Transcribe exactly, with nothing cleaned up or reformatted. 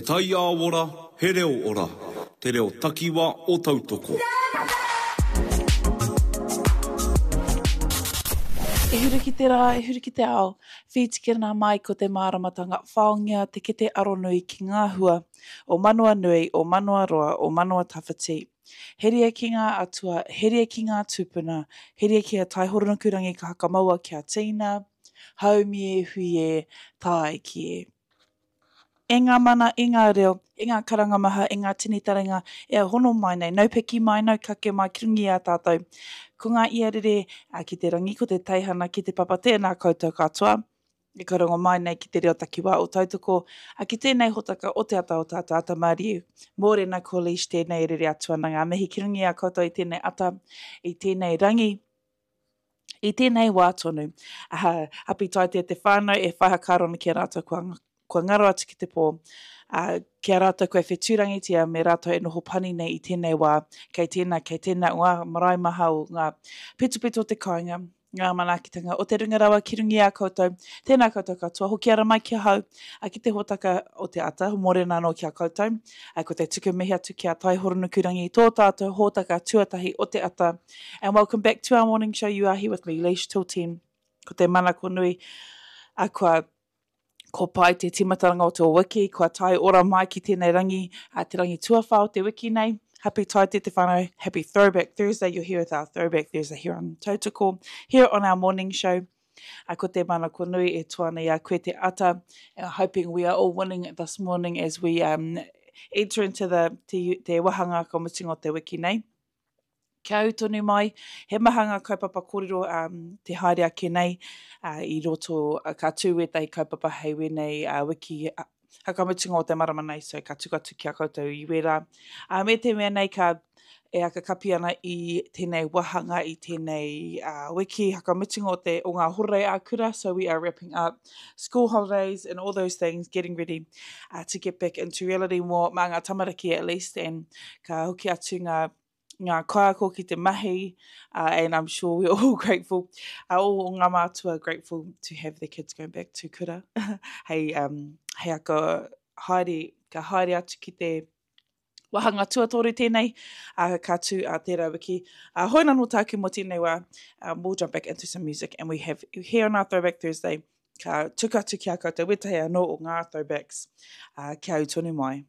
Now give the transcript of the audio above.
He taiao ora, he reo ora. Te reo takiwa o Tautoko. E huri ki te rā, e huri ki te ao, whītikina mai ko te māramatanga, whaongia te kete aronui ki ngā hua o manawa nui, o manawa roa, o manawa tawhiti. Heria ki ngā atua, heria ki ngā tūpuna, heria ki a Taihoronukurangi ka hakamaua kia tīna, haumi e hui e, tāiki e. E ngā mana, e ngā reo, e ngā karanga maha, e ngā tini taringa, e hono mai nei, nau piki mai, nau kake mai, ki runga i a tātou. Ko ngā ia rere ki te rangi, ko te teihana ki te papa, tēnā koutou katoa. E karongo mai nei ki te reo takiwā o Tautoko, a ki tēnei hotaka o te ata o tātou ata Māriu. Mōrena ko Leish tēnei e rere atu ana ngā mihi ki runga i a koutou i tēnei ata, i tēnei rangi, i tēnei wā tonu. Uh, hapi taitea te whānau e whai hakaaro ana ki a rātou kua, kua ngaro atu ki te pō, uh, ki a rātou kua whetūrangitia me rātou e noho pani nei i tēnei wā, kei tēnā, kei tēnā o ngā marae maha o ngā pitopito o te kāinga, ngā manaakitanga o te runga rawa ki runga i a koutou. Tēnā koutou katoa, hoki ara mai ki ahau, a ki te hōtaka o te ata, mōrena anō ki a koutou. A ko te tuku mihi atu ki a Taihoronukurangi, tō tātou hōtaka tuatahi o te ata. And welcome back to our morning show. You are here with me, Leish, till ten. Ko te manako nui, a kua ko pai te timataranga o te wiki, kua tae ora mai ki tēnei rangi, a te rangi tuawhā o te wiki nei. Happy Taite te whānau, happy Throwback Thursday. You're here with our Throwback Thursday here on Tautoko, here on our morning show. A ko te manako nui e toa nei a koe te ata. And hoping we are all winning this morning as we um, enter into the te, te wahanga ka mutunga o te wiki nei. Kia au tonu mai, he maha ngā kaupapa kōrero um, te haere ake nei uh, i roto uh, ka tū wētahi kaupapa hei wēnei uh, wiki uh, hakamutunga o te marama nei, so ka tuku atu ki a koutou i wērā. Uh, me te mea nei ka e akakapi ana i tēnei wahanga, i tēnei uh, wiki hakamutunga o, te, o ngā horerei ā-kura, so we are wrapping up school holidays and all those things, getting ready uh, to get back into reality more, mā ngā tamariki at least, and ka hoki atu ngā ngā kaiako ki te mahi, uh, and I'm sure we're all grateful, uh, all ngā mātua are grateful to have their kids going back to kura. Hei, um, hei aka haere, ka haere atu ki te wahanga tuatoru tēnei, uh, ka tū a tērā wiki. Uh, hoi nā no tāku mō tēnei wā, um, we'll jump back into some music, and we have here on our Throwback Thursday, ka tuku atu ki a koutou wetahi anō o ngā throwbacks, uh, kia au tonu mai.